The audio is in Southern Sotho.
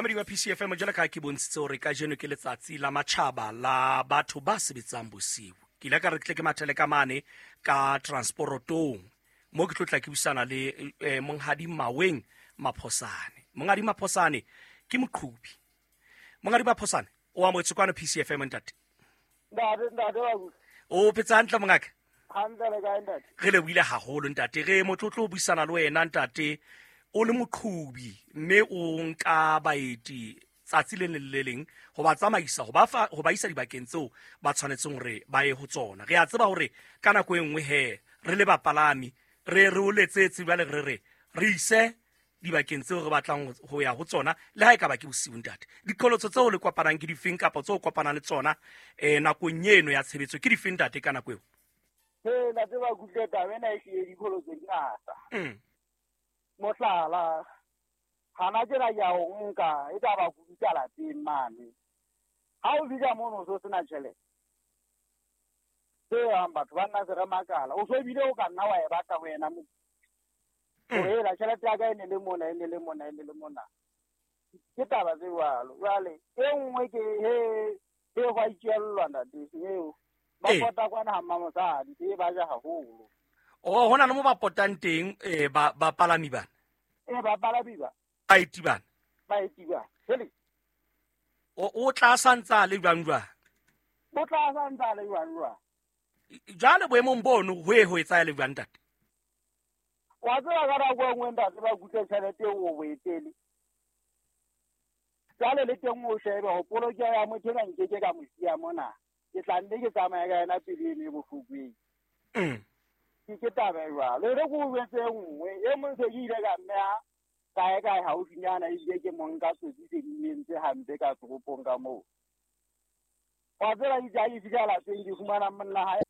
Mamedi wa PCFM, jwalo ka ha ke bontshitse hore kajeno ke letsatsi la matjhaba la batho ba sebetsang bosiu, ke ile ka re ke tle ke mathele ka mane ka transporotong mo ke tlo tla ke busana le Monghadi Maweng Maphosane. Monghadi Maphosane ke moqhubi. Monghadi Maphosane, o amohetswe kwano PCFM, ntate. Ntate, ntate wa busa. O phetse hantle, mongaka? Hantle, le kae, ntate? Re lebohile haholo, ntate. Re motlotlo ho buisana le wena, ntate. O le moqhubi mme o nka baeti tsatsi le leng le leng ho ba tsamaisa, ho ba isa dibakeng tseo ba tshwanetseng hore ba ye ho tsona. Re a tseba hore ka nako e nngwe he re le bapalami re o letsetse jwale re re re ise dibakeng tseo re batlang ho ya ho tsona, le ha e ka ba ke bosiu, ntate. Diqholotso tseo le kopanang ke difeng kapa tseo kopanang le tsona nakong eno ya tshebetso ke difeng, ntate, ka nako eo? He, ntate ba kutle, taba ena e hlile diqholotso di ngata. Mohlala, hana tjena ke a o nka, e ka ba kudisa lapeng mane. Ha o fihla mono o so sena tjhelete. Tse yang batho ba nna se re makala. O so bile o ka nna wa e batla ho yena mo. Hore ela tjhelete ya ka e ne le mona, e ne le mona, e ne le mona. Ke taba tse jwalo. Jwale e nngwe ke he he hwa itjellwa, ntate, eo. Ba pota kwana ha mmamosadi, e ba ja haholo. Oh, hona le mo ba potang teng, ba palami bana. Ba palami ba. Baeti bana. Baeti ba. Hele. O tla santsa le jwang jwang? O tla santsa le jwang jwang? Jwale boemong bono ho e ho etsa le jwang, ntate? Wa tseba ka nako e nngwe, ntate, ba kutle tjhelete eo o boetele. Jwale le teng o shebe ho polokeho ya motho ena nkeke ka mo siya mona. Ke tla nne ke tsamaya ka yena pele eno e bohloko eo. Ke taba e jwalo. E re ke o jwetse e nngwe, e mong se ke ile ka mmeha kae kae haufinyana, ebile ke mo nka tsotsi se di entse hampe ka toropong ka moo. Wa tseba itse ha ke fihla lapeng ke fumana monna hae.